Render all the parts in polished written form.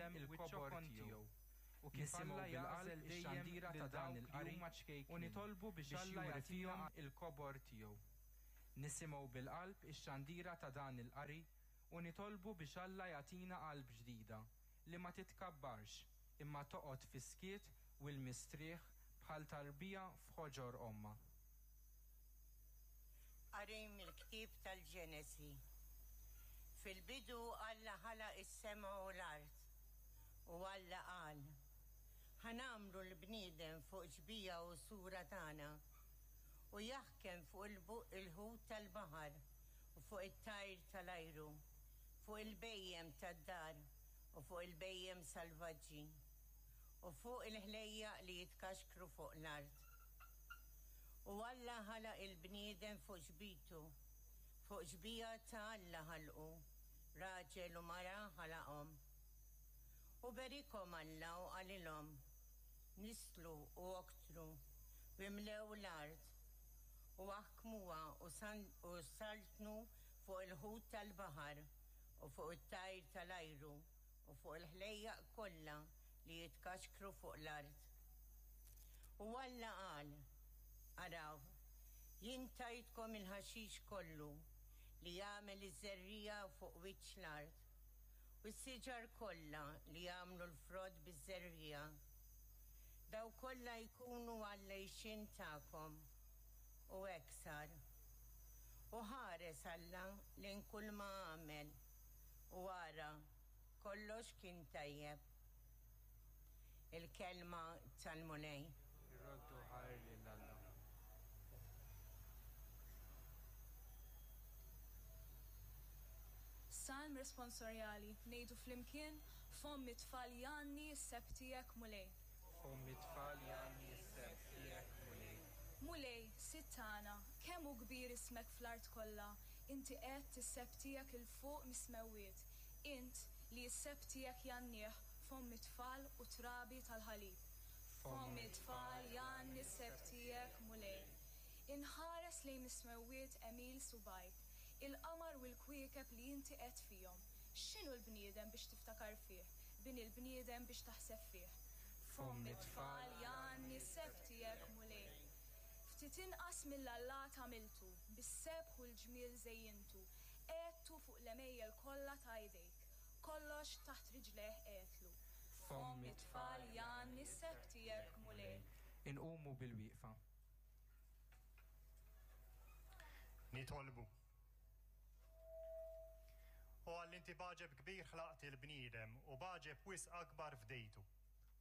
dejjem il-kobor tiegħu. U kif Nisimgħu Alla bil-qalb jagħżel dejjem ix-xandira lil ta' dan dawk li il-qari huma u ċkejknin nitolbu biex biex Alla juri jagħtina fihom il-kobor tiegħu. Nisimgħu bil-qalb ix-xandira ta' dan il-qari u nitolbu biex Alla jagħtina qalb ġdida li ma titkabbarx imma toqgħod fis-skiet u l-mistrieħ bħal tarbija f'ħoġor ommha. Qari mill-ktieb tal-Ġenesi. Fil-bidu Alla ħalaq is-sema u l-art. U Alla qal, Ħa nagħmlu l-bniedem fuq xbieha u sura tagħna, u jaħkem fuq il-ħut tal-baħar u fuq it-tajr tal-ajru, fuq il-bhejjem tad-dar u fuq il-bhejjem salvaġġi, u fuq il-ħlejjaq li jitkaxkru fuq l-art. U Alla ħalaq il-bniedem fuq xbitu, fuq xbieha ta' Alla ħalqu, raġel u mara ħalaqhom. U berikhom Alla u qalilhom, Nisslu u oktru, u imlew l-art, u aħkmuha u saltnu fuq il-ħut tal-baħar u fuq it-tajr tal-ajru u fuq il-ħlejjaq kollha li jitkaxkru fuq l-art. U Alla qal, Araw, jien tajtkom il-ħaxix kollu li jagħmel iż-żerriegħa fuq wiċċ l-art, u s-siġar kollha li jagħmlu l-frott biż-żerriegħa. Dawk kollha jkunu għall-għixien tagħkom. U hekk sar. U ħares Alla lejn kulma għamel, u ara, kollox kien tajjeb. Il-Kelma tal-Mulej. Irroddu ħajr lil Alla. Salm responsorjali, ngħidu flimkien, Fomm it-tfal jgħanni s-sebħ tiegħek, Mulej. Fomm it-tfal jgħanni s-sebħ tiegħek, Mulej. Mulej, Sid tagħna, kemm hu kbir ismek fl-art kollha, inti qegħedt is-sebħ tiegħek 'il fuq mis-smewwiet, int, li s-sebħ tiegħek jgħannih fomm it-tfal u t-trabi tal-ħalib. Fomm it-tfal jgħanni s-sebħ tiegħek, Mulej. Inħares lejn is-smewwiet għemil subgħajk, il-qamar u l-kwiekeb li inti qegħedt fihom. X'inhu l-bniedem biex tiftakar fih, bin il-bniedem biex taħseb fih? Fomm it-tfal jgħanni s-sebħ tiegħek, Mulej. Ftit inqas mill-allat għamiltu, bis-sebħ u l-ġmiel żejjintu, qegħedtu fuq l-għemejjel kollha ta' idejk. Kollox taħt riġlejh qegħedtlu. Fomm it-tfal jgħanni s-sebħ tiegħek, Mulej. Inqumu bilwieqfa. Nitolbu. O Alla inti b'għaġeb kbir ħlaqt il-bniedem u b'għaġeb wisq akbar fdejtu,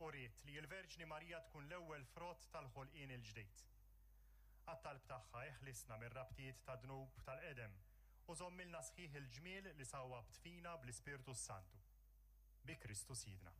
u ridt li l-Verġni Marija tkun l-ewwel frott tal-ħolqien il-ġdid. Għat-talb tagħha eħlisna mir-rabtiet tad-dnub tal-qedem u żommilna sħiħ il-ġmiel li sawwabt fina bl-Ispirtu s-Santu. Bi Kristu Sidna.